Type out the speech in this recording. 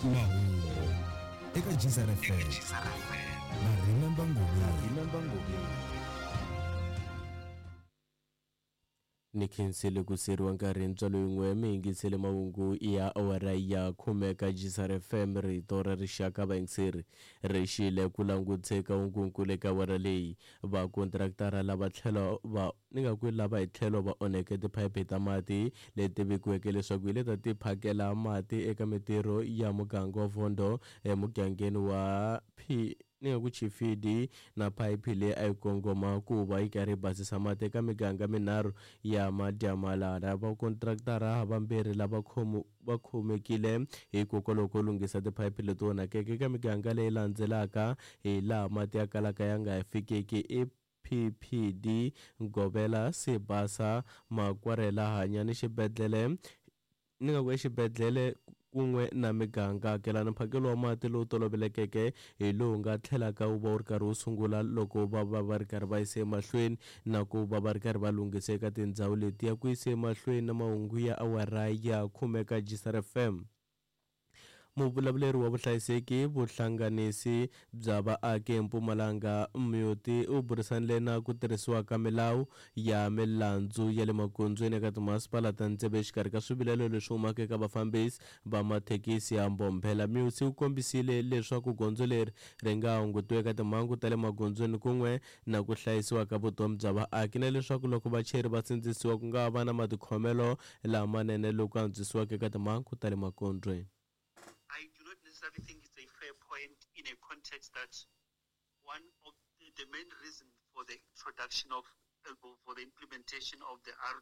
Mahungu eka Gzar FM na Remember Ngobeni. Ni khensile ku seriwa nkarhi ntswalo yin'we mi yingisele mahungu ya awara ya khume ka Gisar FM rito ra rixaka vayingiseri ri xile ku languteka hungunkulu eka awara leyi vakontraktara lava tlhelo va ni nga ku lava hi tlhelo va onheke tiphayiphi ta mati leti vekiweke leswaku hi leta ti phakela mati eka mitirho ya muganga wa Vondo emugangeni wa P ni nga ku Chifidi na phayiphi leyi a yi kongoma ku va yi karhi yi basisa mati eka miganga minharhu ya Madyamalala. Vakontraktara vambirhi lava va khomekile hikokwalaho ko lunghisa tiphayiphi leti onhakeke eka miganga leyi landzelaka hi laha mati ya kalaka ya nga fikiki i PPD, Govela, Sibasa, Makwarela, Hanyani xibedhlele ni nga ku exibedhlele kun'we na miganga. Kelani mphakelo wa mati lowu tolovelekeke hi lowu nga tlhelaka wu va wu ri karhi wu sungula loko va va va ri karhi va yise emahlweni na ku va va ri karhi va lunghisa eka tindhawu letiya ku yise emahlweni na mahungu ya awara ya khume ka Gisar FM. Muvulavuleri wa vuhlayiseki vuhlanganisi bya vaaki eMpumalanga Muyoti u burisanile na ku tirhisiwa ka milawu ya milandzu ya le magondzweni eka timasipala ta tsevu exikarhi ka swivilelo leswi humaka eka vafambisi va mathekisi ya Mbombela. Muyoti u kombisile leswaku gondzo leri ri nga hungutiwa eka timhangu ta le magondzweni kun'we na ku hlayisiwa ka vutomi bya vaaki na leswaku loko vachayeri va sindzisiwa ku nga va na matikhomelo lamanene loku antswisiwaka eka timhangu ta le magondzweni. I do not necessarily think it's a fair point in a context that one of the main reason for the introduction of, for the implementation of the